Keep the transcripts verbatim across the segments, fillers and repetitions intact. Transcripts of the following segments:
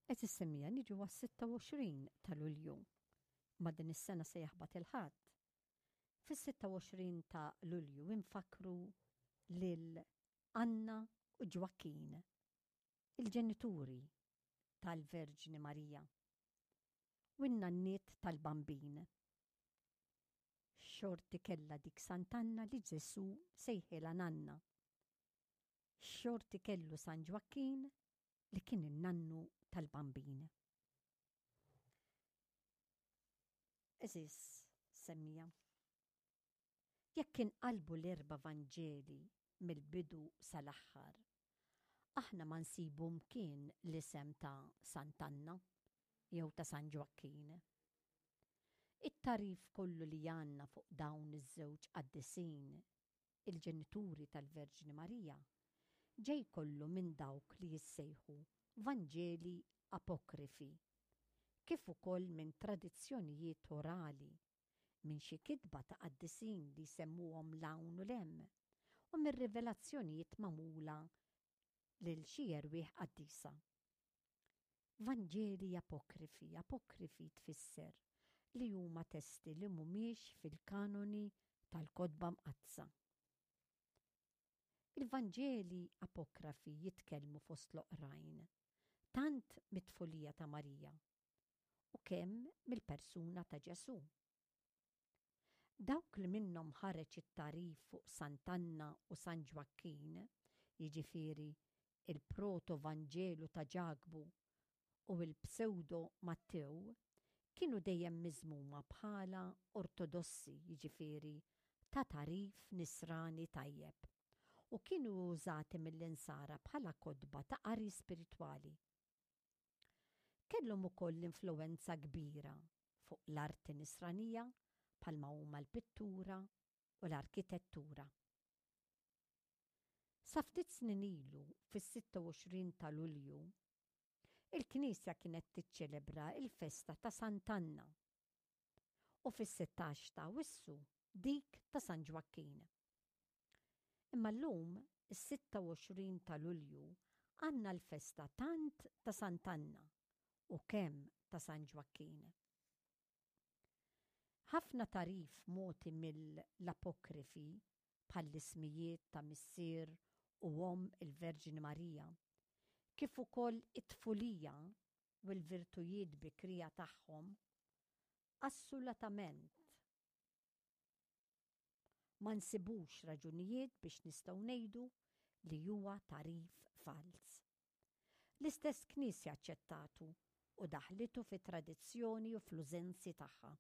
Qed issemmija niġu għas-sitta u għoxrin ta' Lulju. Ma din is-sena se jaħbat il-Ħadd. Fis-sitta u għoxrin ta' Lulju infakru lil Anna u Ġwakkin, il-ġenituri tal-Verġni Marija, u n-nanniet tal-Bambin. Xorti kellha dik Sant'Anna li Ġesù sejħilha nanna. Xorti kellu San Ġwakkin li kien in-nannu tal-Bambin. Eżis, semmija. Jekk inqalbu l-erba' Vanġeli mill-bidu sal-aħħar, aħna ma nsibu mkien l-isem ta' Sant'Anna jew ta' San Ġwakkin. It-tagħrif kollu li għandna fuq dawn iż-żewġ qaddisin, il-ġenituri tal-Verġni Marija, ġej kollu minn dawk li jissejħu Vanġeli apokrifi, kif ukoll minn tradizzjonijiet orali, minn xi kitba ta' qaddisin li jsemmuhom 'l hawn u 'l hemm, u mir-rivelazzjonijiet magħmula lil xi erwieħ qaddisa. Vanġeli apokrifi, apokrifi tfisser li huma testi li mhumiex fil-kanoni tal-kotba mqaddsa. Il-Vanġeli apokrafi jitkellmu fost l-oqrajn tant mit-tfulija ta' Marija u kemm mill-persuna ta' Ġesù. Dawk li minnhom ħareġ it-tagħrif fuq Sant'Anna u San Ġwakkin, jiġifieri il-Proto-Vanġelu ta' Ġakbu u l-Pseudo Mattew, kienu dejjem miżmuma bħala ortodossi, jiġifieri ta' tagħrif nisrani tajjeb, u kienu użati mill-insara bħala kotba ta' qari spiritwali. Kellhom ukoll influwenza kbira fuq l-arti nisranija bħalma huma l-pittura u l-arkitettura. Sa ftit snin ilu, fis-sitta u għoxrin ta' Lulju, il-Knisja kienet tiċċelebra l-festa ta' Sant'Anna u fis-sittax ta' Awwissu dik ta' San Ġwakkin. Imma llum, is-sitta u għoxrin ta' Lulju, għandna l-festa tant ta' Sant'Anna u kemm ta' San Ġwakkin. Ħafna tagħrif mogħti mill-apokrifi bħall-ismijiet ta' missier u omm il-Verġni Marija, kif ukoll it-tfulija u l-virtujiet bikrija tagħhom, assolutament ma nsibux raġunijiet biex nistgħu ngħidu li huwa tagħrif falz. L-istess Knisja aċċettatu u daħlitu fit-tradizzjoni u fl-użenzi tagħha.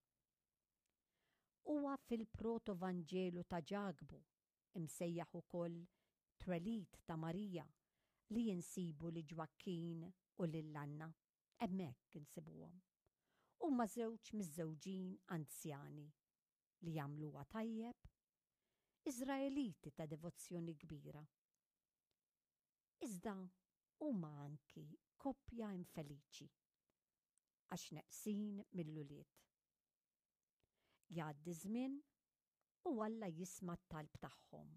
Huwa fil-Proto-Vanġelu ta' Ġakbu, imsejjaħ ukoll Twelid ta' Marija, li insibu li Ġwakkin u lil Anna. Hemmhekk insibuhom. Huma żewġ miżżewġin anzjani li jagħmluha tajjeb, Iżraeliti ta' devozzjoni kbira. Iżda huma anki koppja infeliċi għax neqsin mill-ulied. Jgħaddi żmien u Alla jisma' t-talb tagħhom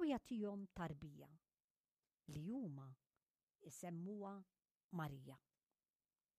u jagħtihom tarbija li huma jsemmuha Marija.